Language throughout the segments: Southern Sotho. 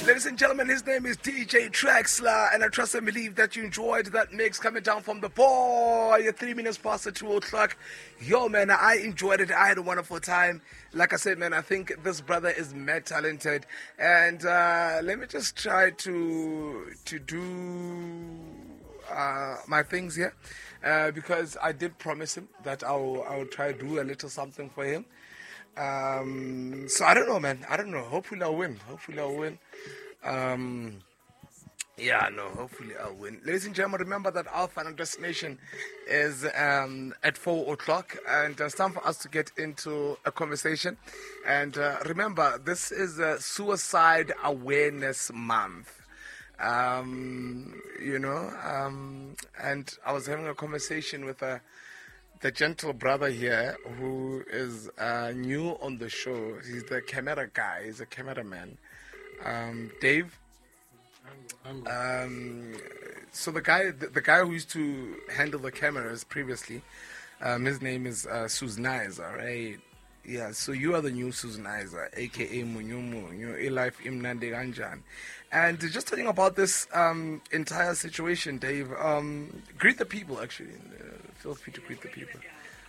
Ladies and gentlemen, his name is DJ Traxler, and I trust and believe that you enjoyed that mix coming down from the boy. 3 minutes past the 2 o'clock. Yo, man, I enjoyed it. I had a wonderful time. Like I said, man, I think this brother is mad talented. And let me just try to do my things here, because I did promise him that I'll try to do a little something for him. So I don't know, man. I don't know. Hopefully I'll win. Hopefully I'll win. Yeah, no, hopefully I'll win. Ladies and gentlemen, remember that our final destination is at 4 o'clock, and it's time for us to get into a conversation. And remember, this is a Suicide Awareness Month. And I was having a conversation with the gentle brother here who is new on the show. He's the camera guy. He's a cameraman. Dave. So the guy who used to handle the cameras previously, his name is Suznaiza, right? Yeah, so you are the new Suznaiza, aka Munyumu, you know, life imnandi kanjani. And just talking about this entire situation, Dave, greet the people, actually. Feel free to greet the people.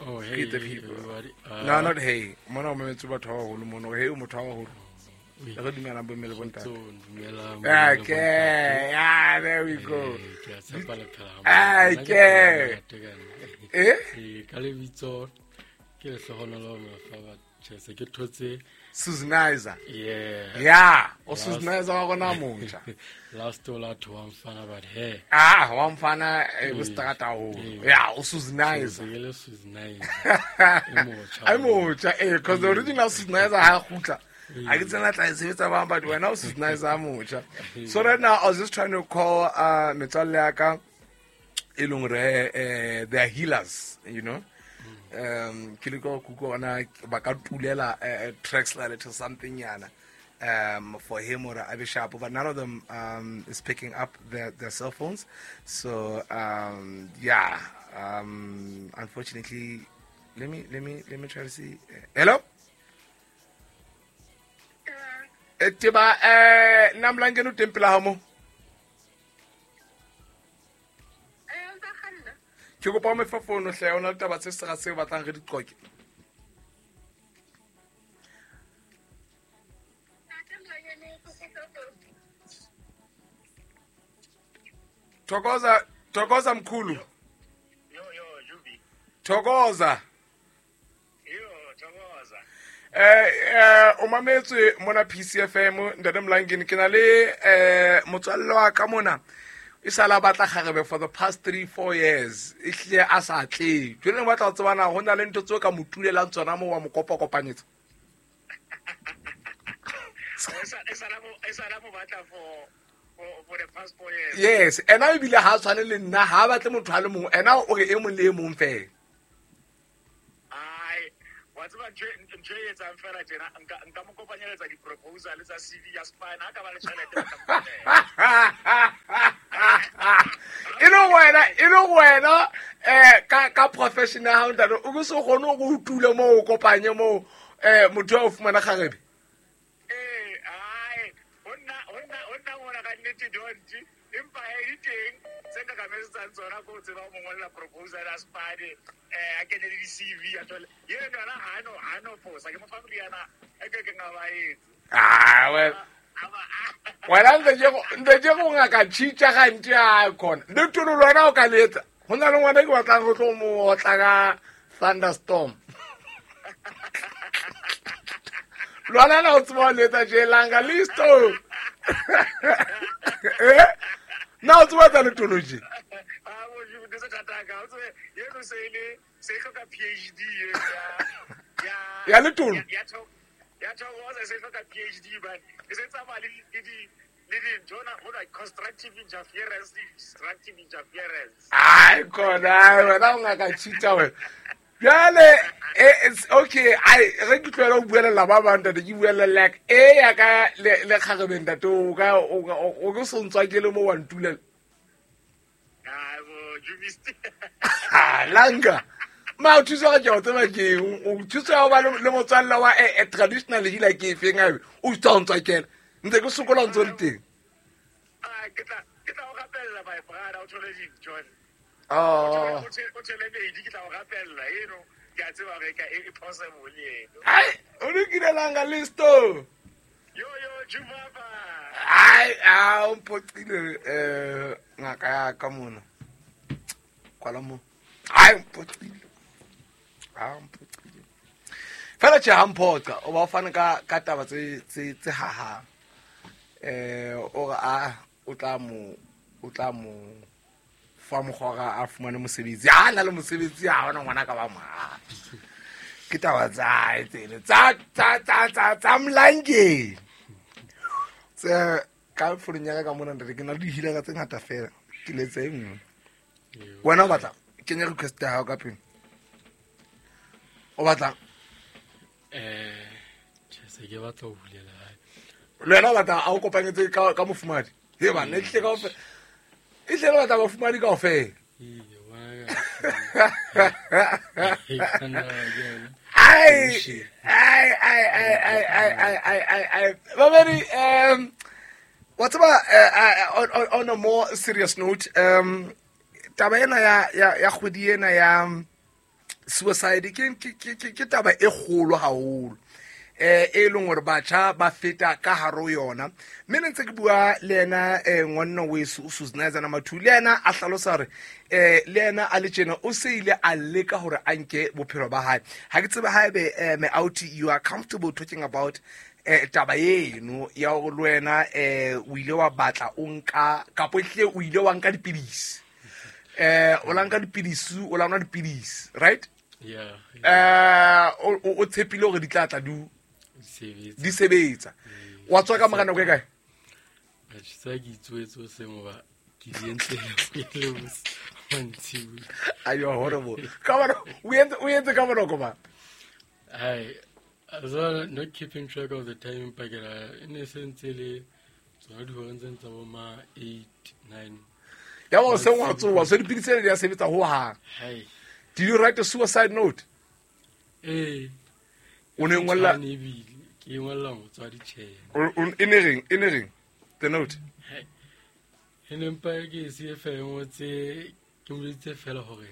Oh, hey, greet the people. Everybody. No, not hey. Mona o memetse batho ba baholo mono. Hey, o motho wa baholo. Okay, yeah, there we go. Okay. Eh? Suznaiza. Yeah. Yeah. O Suznaiza wa rona motjha. Last ola to wa mfana but hey. Ah, wa mfana e bo strata haholo. Yeah, o Suznaiza. Ke Suznaiza. E motjha. Eh, because the original Suznaiza ha kgutla. I get to but when I was nice, so right now I was just trying to call metswalle ya ka e leng hore they are healers, you know. Ke leka go kuka ona ba ka tulela Traxler little something yana for him or a be sharp, but none of them is picking up their cell phones. So unfortunately, let me try to see. Hello. Etiba namlangeni o teng pela ha mo. Ke kopa o me fa fono hle, o na le taba tse sega se batlang re di qoke. Thokoza, thokoza mkhulu. Yo yo Jubi. Thokoza. Yo thokoza. O mametswe mona PCFM ntate Mlangeni ke na le motswalle wa ka mona e sala batla kgarebe for the past 3-4 years e hlile a sa tle jwale batla ho tsebana ho na le ntho tseo ka mo tulelang tsona mo wa mo kopa kopanyetsa e sala mo batla for the past 4 years. Yes, ena ebile ha tshwane le nna ha batle motho a le mong ena o re e mong le e mong fela. Wa tseba ntho e etsang fela tjena nka mo kopanyeletsa di-proposal tsa CV ya Spine ha ka ba le tjhelete ba tla e le wena ka profession ya hao ntate o ke se kgone go utule mo o kopanye mo motho a o fumana kgarebe. Eh ai honna ngwana ka nnete don't empa e teng tse ka kametsang tsona ko tseba mo ngolla proposal ya Spine a kene le di-CV a thole yena yona ha no fosa ke mo fa moriana e ke nga ba etse. Ah well wena ntse ke go ngaka tšhitša gantsi a khona le tulo le wena o ka letsa go na le ngwana ke batlang go tlo mo otla ka thunderstorm. Lwana na o tseba letsa jelanga listo. Eh na o tseba tsa letology. Ah bo ju se thataka o tsebe yeno se ile se hloka PhD ya letolo ya thokoza se hloka PhD but e se tsamaya le di dintho na hona constructive interference, destructive interference. Ai khona wena o ngaka cheater wena. Jwale it's okay ai re ke tlohela ho buelela ba bang ntate ke buelela like e ya ka le kgarebe ntate o ka o ke so ntswa ke le mo wa ntulela. Ai bo Jubisti. Langa. Ma o thusa ka ke tseba ke o thusa ba le motswalla wa traditional healer ke efeng abe o tsa ntswa kela. Ntse ke sokola ntse o le teng. Ke tla o rapella my brother, o thole dintho. Oh. O thole medi, ke tla o rapella eno. Ke a tseba hore e possible eno. Ai, o lokilelanga listo. Yo yo, Jumaba. Ai, a o mpoqile ngaka ya ka mona. Kwala mo. Ai, mpoqile. A mpoqile. Fela tjhe ha mphoqa, o ba o fane ka taba tse hahang. O re a o tla mo fa mokgwa a fumane mosebetsi. Ha na le mosebetsi ha hona ngwana ka ba mo. Ke taba tsa hae tsene tsa mlangeng. Tse ka founung ya ka mona ntate ke na le dihilaka tse ngata fela. Ke letse e nngwe. Wena o batla kenya request ya hao ka pele. O batla Tjhe, se ke batla ho bulela hae. Le wena o batla a o kopanyetse ka mofumadi. He bana e tle kaofela. E tle le batla bafumadi kaofela. Ai ai ai ai ai ai ai ai ai. Babedi, wa tseba, on a more serious note, taba ena ya kgwedi ena ya suicide ke taba e kgolo haholo. E leng hore batjha ba feta ka hare ho yona. Mme ne ntse ke bua le yena ngwanna weso o Suznaiza Mathu, le yena a hlalosa hore le yena a le tjena o se ile a leka hore a nke bophelo ba hae. Ha ke tsebe haebe me out you are comfortable talking about taba eno ya hore le wena o ile wa batla o nka kapo ehlile o ile wa nka dipidisi. O la nka dipidisi, o la nwa dipidisi, right? Yeah. O tshepile hore di tla tla di sebetsa. Wa tswa ka mora nako e kae? Tsa ke itswetse o seng ba ke di entse le mantsibuya. Ayo horrible. Ka bona o entse ka bona ba. Ai, so not keeping track of the time pakela e ne se ntse le tsona dihoreng tse ntse bo ma 8 9. Ya ba seng wa tsoa, so dipidisi di a sebetsa ho hang. Hai. Did you write a suicide note? O ne ngolla ke ngolla motswadi tjhe. E ne reng the note? E ne mpa ke se fe ngotse ke mo itse fela hore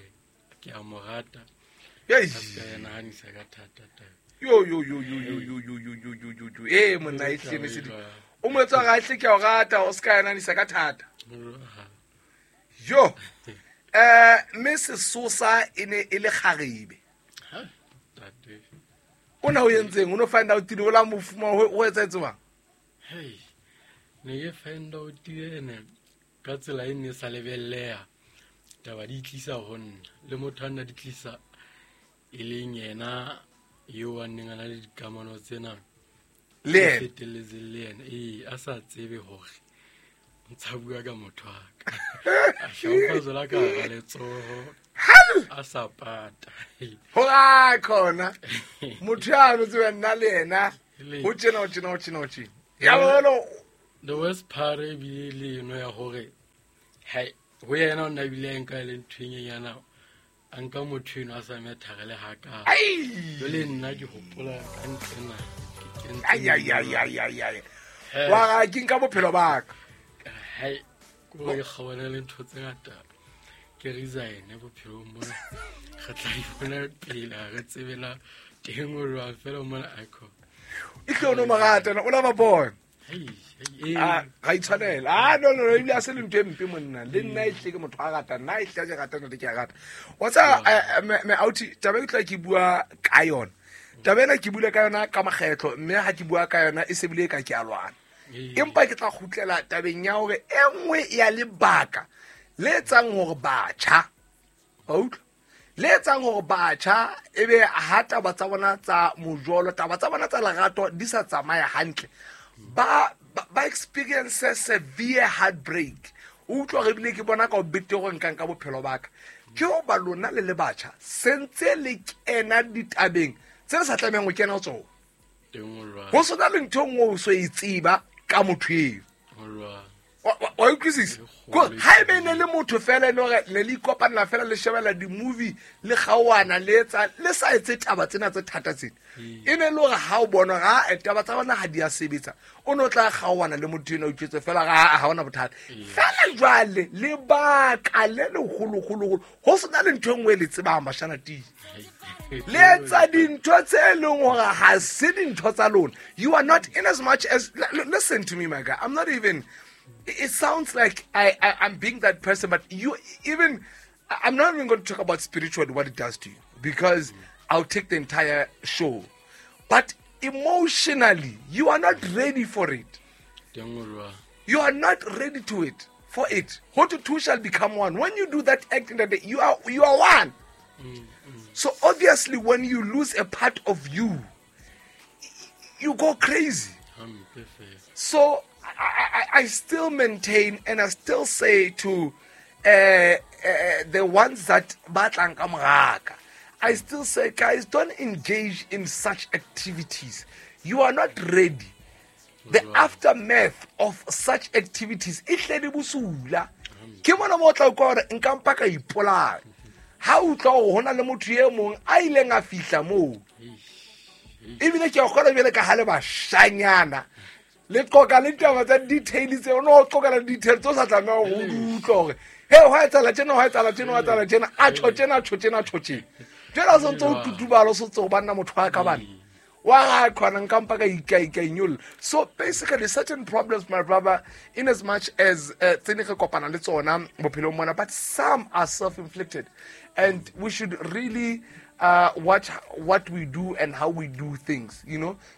ke a mo rata. Yes. Ka nahanisa ka thata thata. Yo yo yo yo yo yo yo yo yo yo yo yo. Monna e hle ne se di. O mo etsa ga hle ke a o rata o ska nahanisa ka thata. Yo. Mme sesosa e ne e le kgarebe. Ha, tate. O na o entseng? O no find out tile o la mofuma o etsa etswa? Hey. Ne ke find out ene ka tsela e ne sa lebelleha. Taba di tlisa ho nna le motho a nna di tlisa e leng yena eo a neng a na le dikamano tsena le yena fetelletseng le yena. A sa tsebe hore ntsa bua ka motho wa ka. A shaupa zola ka hara letsoho. A sa pata. Ho a khona. Motho ya no tsebe nna le yena. Ho tjena ho tjena ho tjena ho tjena. Ya bona the worst part e bile le eno ya hore hai ho yena o nna bile a nka le ntho e nyenyana a nka motho eno a sa methare le haka. Jwale nna ke hopola ka ntlena ke kentse. Ai ai ai ai ai. Wa ga ke nka bophelo ba ka. Hai, ko ke kgawana le ntho tse ngata. Ke resign bophelong mona. Re tla ipona pele re tsebela teng o jwang fela mona akho. E tlo no morata o la ba bona. Hei, Ga itshwanela. Ah no no no ebile a se le ntho e mpe monna. Le nna e tle ke motho a rata, nna e tle ke rata nna ke a rata. Wa tsa me auti taba e ke tla ke bua ka yona. Taba ena ke bula ka yona ka makgetlo mme ha ke bua ka yona e se bile ka ke a lwana. Empa ke tla kgutlela tabeng ya hore e nngwe ya lebaka le etsang hore batjha wa utlwa le etsang hore batjha ebe ha taba tsa bona tsa mojolo taba tsa bona tsa lerato di sa tsamaya hantle ba experience severe heartbreak. O utlwa re bile ke bona ka o bete hore nkang ka bophelo ba ka ke ho ba lona le le batjha sentse le kena ditabeng tse le sa tlamehang ho kena ho tsona. Ho sona le ntho e nngwe o so e tseba ka motho eo. Wa utlwisisa? Ko haebe ne le motho fela e le hore ne le ikopanela fela, le shebella di-movie, le kgaoana, le etsa, le sa etse taba tsena tse thata tsena, e ne le hore ha o bona ga taba tsa bona ha di a sebetsa, o ne o tla kgaoana le motho ena, o itjwetse fela ga ha ona bothata. Fela jwale lebaka le lehologologolo go sena le ntho e nngwe e le tsebang, bashana tii, le etsa dintho tse e leng gore ga se dintho tsa lona. You are not, in as much as, listen to me, my guy, I'm not even, it sounds like I'm being that person, but you even, I'm not even going to talk about spiritually what it does to you, because I'll take the entire show. But emotionally, you are not ready for it. You are not ready to it for it. What two shall become one. When you do that act in the day, you are one. So obviously, when you lose a part of you, you go crazy. So I still maintain and I still say to the ones that batlang ka moraka, I still say, guys, don't engage in such activities. You are not ready. The aftermath of such activities e tle di bosula. Ke mona mo o tla utlwa hore nka mpa ka ipolaya. Ha o utlwa hore ho na le motho e mong a ileng a fihla moo, ebile ke a kgona bjale ka ha le bashanyana, le qoka le ditaba tsa detail tse o no qoka le detail tse o sa tlameha ho di utlwa hore he hwa etsahala tjena, hwa etsahala tjena, hwa etsahala tjena, a tjho tjena, a tjho tjena, a tjho tjena. Jwale ha o santse o tutubala, o santse o banna motho wa ka bana wa ga khona nka mpa ka inyolla. So basically, certain problems, my brother, in as much as tse ne re kopana le tsona bophelong mona, but some are self-inflicted and we should really watch what we do and how we do things,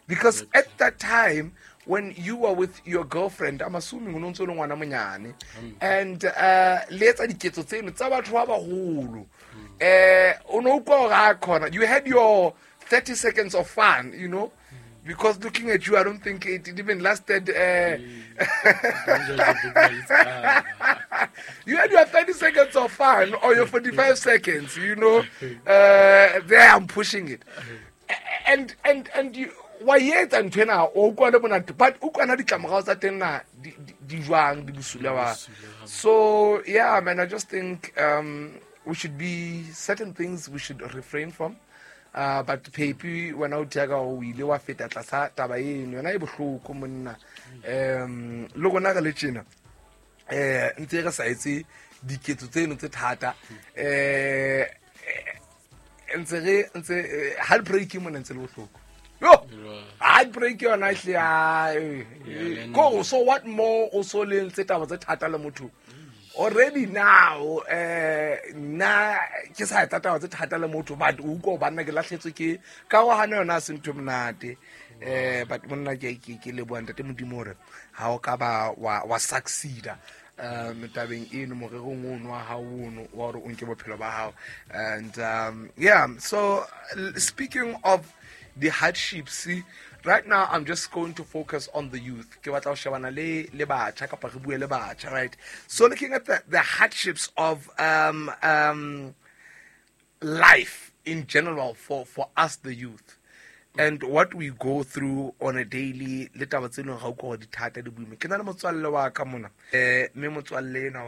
because at that time when you were with your girlfriend, I'm assuming o no ntse o le ngwana monyane, and le etsa diketso tseno tsa batho ba baholo, o no utlwa hore ha khona you had your 30 seconds of fun, because looking at you, I don't think it even lasted. You had your 30 seconds of fun or your 45 seconds. There I'm pushing it. And you wa etsa ntho ena, o utlwa le monate, but o utlwana ditlamorao tsa teng na di jwang, di bosula wa. So yeah, man, I just think we should be, certain things we should refrain from. But Pepi, wena o tia ka o ile wa feta tlasa taba eno, yona e bohloko monna. Le rona re le tjena, ntse re sa etse diketso tseno tse thata, ntse re ntse heartbreak mona ntse le bohloko yo, heartbreak yona hle a ko. So what more o so le ntse taba tse thata le motho already now? Nna ke sa etsa taba tse thata le motho, but o utlwa banna ke lahletswe ke karohano, yona a se ntho e monate. But monna, ke leboha ntate Modimo hore ha o ka ba wa succeeda tabeng eno, morerong ono wa hao ono wa hore o nke bophelo ba hao. And yeah, so speaking of the hardships, see, right now I'm just going to focus on the youth. Ke batla ho shebana le batjha, kapa re bue le batjha, right? So looking at the hardships of life in general for us the youth and what we go through on a daily, le taba tse leng ga o gore di thata, di boima. Ke na le motswalle wa ka mona, mme motswalle enwa